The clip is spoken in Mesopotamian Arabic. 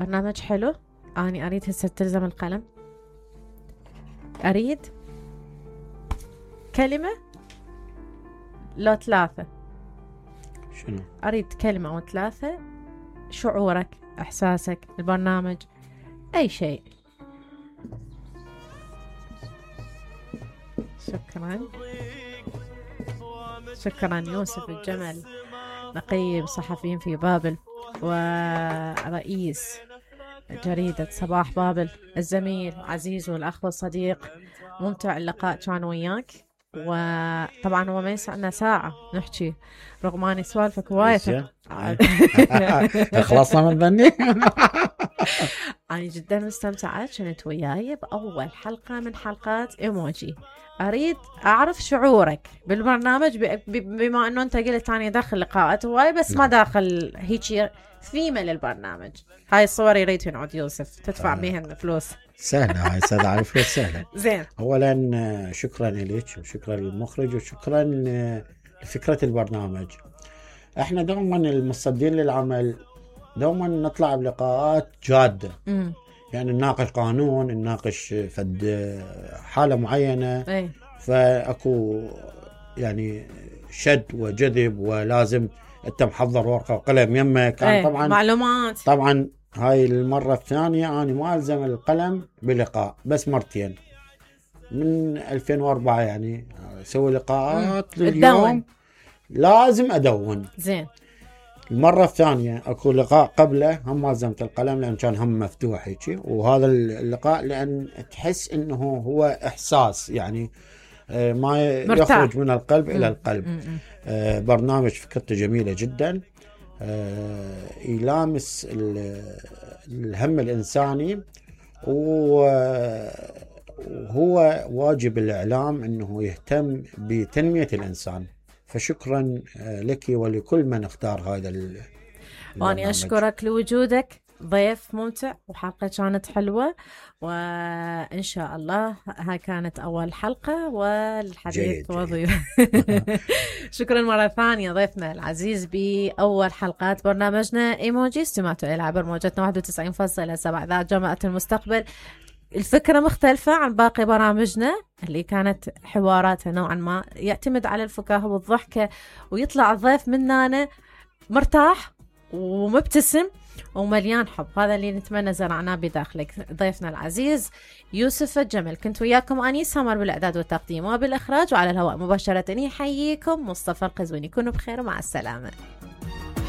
برنامج حلو. اني اريد هسه تلزم القلم، اريد كلمة لو 3. شنو؟ اريد كلمة او 3، شعورك، احساسك، البرنامج، اي شيء. شكرا. شكرا يوسف الجمل، نقيب صحفيين في بابل ورئيس جريدة صباح بابل، الزميل عزيز والأخ والصديق. ممتع اللقاء كان وياك، وطبعا هو ما يسعنا ساعة نحكي رغم اني سوالفك وايد. خلصنا من ذني. أنا جدا مستمتعة كنت وياي بأول حلقة من حلقات إيموجي. أريد أعرف شعورك بالبرنامج بما أنه أنت قلت أنا داخل لقاءات هواي بس ما داخل هيك ثيمة للبرنامج. هاي الصور يريد ينعد يوسف تدفع بيهن فلوس. سهلة هاي سهلة، على فلوس سهلة. زين. أولا شكرا لك وشكرا للمخرج وشكرا لفكرة البرنامج. احنا دوما المصدين للعمل دوما نطلع بلقاءات جادة. يعني نناقش قانون، نناقش فد حالة معينة. فأكو يعني شد وجذب ولازم انت محضر ورقة وقلم يمك. طبعا معلومات. طبعا هاي المرة الثانية أنا ما ألزم القلم بلقاء بس مرتين من 2004 يعني أسوي لقاءات اليوم لازم أدون. زين. المرة الثانية أكو لقاء قبله هم ما لزمت القلم لأن كان هم مفتوح هيك، وهذا اللقاء لأن تحس إنه هو إحساس يعني ما مرتاح. يخرج من القلب إلى القلب. برنامج فكرته جميلة جدا، يلامس الهم الإنساني، وهو واجب الإعلام أنه يهتم بتنمية الإنسان. فشكرا لك ولكل من اختار هذا وأنا أشكرك لوجودك، ضيف ممتع وحلقة كانت حلوة، وإن شاء الله هاي كانت أول حلقة والحديث وضيف. شكرا مرة ثانية ضيفنا العزيز بأول حلقات برنامجنا إيموجي. استمعتوا إلى عبر موجتنا 91.7 إذاعة جامعة المستقبل. الفكرة مختلفة عن باقي برامجنا اللي كانت حواراتها نوعا ما يعتمد على الفكاهة والضحكة، ويطلع الضيف مننا مرتاح ومبتسم ومليان حب. هذا اللي نتمنى زرعناه بداخلك. ضيفنا العزيز يوسف الجمل، كنت وياكم أني سمر بالإعداد والتقديم وبالإخراج، وعلى الهواء مباشرة يحييكم مصطفى القزويني. كونوا بخير ومع السلامة.